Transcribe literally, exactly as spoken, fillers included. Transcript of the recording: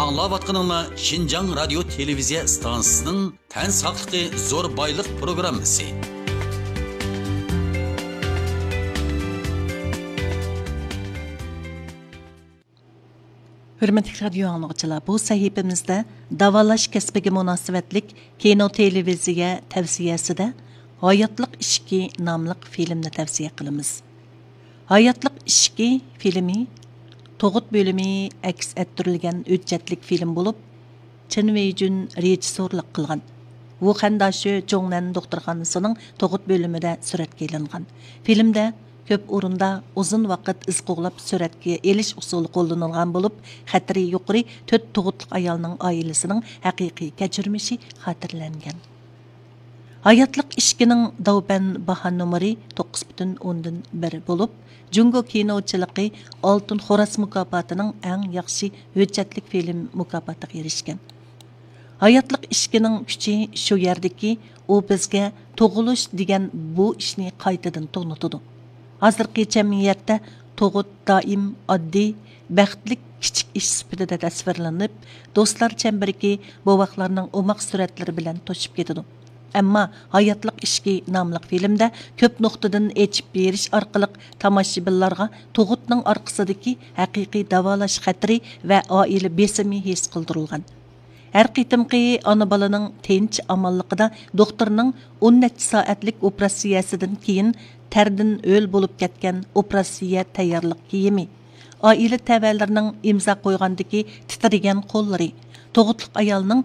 ئاڭلاۋاتقىنىڭلار شىنجاڭ رادىيو تېلېۋىزىيە ئىستانسىسىنىڭ تەن ساقلىقى زور بايلىق پروگراممىسى. ھۆرمەتلىك رادىيو ئاڭلىغۇچىلار، بۇ سەھىپىمىزدە داۋالاش كەسپىگە مۇناسىۋەتلىك كىنو تېلېۋىزىيە تەۋسىيەسىدە ھاياتلىق ئىشىكى ناملىق فىلىمنى تەۋسىيە قىلىمىز. ھاياتلىق ئىشىكى فىلىمى تۇغۇت بۆلۈمى ئەكس ئەتتۈرۈلگەن ھۆججەتلىك فىلىم بولۇپ، چېن ۋېيجۈن رېژىسسورلۇق قىلغان. ۋۇخەن داشۆ جۇڭنەن دوختۇرخانىسىنىڭ تۇغۇت بۆلۈمىدە سۈرەتكە ئېلىنغان. فىلىمدە كۆپ ئورۇندا ئۇزۇن ۋاقىت ئىز قوغلاپ سۈرەتكە ئېلىش ئۇسۇلى قوللىنىلغان بولۇپ، خەتىرى يۇقىرى تۆت تۇغۇتلۇق ئايالنىڭ ئائىلىسىنىڭ ھەقىقىي كەچۈرمىشى خاتىرىلەنگەن. ھاياتلىق ئىشىكىنىڭ داۋبەن باھا نومۇرى توققۇز پۈتۈن ئوندىن بىر بولۇپ، جۇڭگو كىنوچىلىقى ئالتۇن خوراز مۇكاپاتىنىڭ ئەڭ ياخشى ھۆججەتلىك فىلىم مۇكاپاتىغا ئېرىشكەن. ھاياتلىق ئىشىكىنىڭ كۈچى شۇ يەردىكى، ئۇ بىزگە تۇغۇلۇش دېگەن بۇ ئىشنى قايتىدىن تونۇتىدۇ. ھازىرقى جەمئىيەتتە تۇغۇت دائىم ئاددىي، بەختلىك كىچىك ئىش سۈپىتىدە تەسۋىرلىنىپ، دوستلار چەمبىرىكى، بوۋاقلارنىڭ ئوماق سۈرەتلىرى بىلەن توشۇپ كېتىدۇ. ئەمما ھاياتلىق ئىشىكى ناملىق فىلىمدە كۆپ نۇقتىدىن ئېچىپ بېرىش ئارقىلىق تاماشىبىنلارغا تۇغۇتنىڭ ئارقىسىدىكى ھەقىقىي داۋالاش خەتىرى ۋە ئائىلە بېسىمى ھېس قىلدۇرۇلغان. ھەر قېتىمقى ئانا بالىنىڭ تىنچ ئامانلىقىدا دوختۇرنىڭ ئون نەچچە سائەتلىك ئوپېراتسىيەسىدىن كېيىن تەردىن ھۆل بولۇپ كەتكەن ئوپېراتسىيە تەييارلىق كىيىمى، ئائىلە تەۋەلىرىنىڭ ئىمزا قويغاندىكى تىترىگەن قوللىرى، تۇغۇتلۇق ئايالنىڭ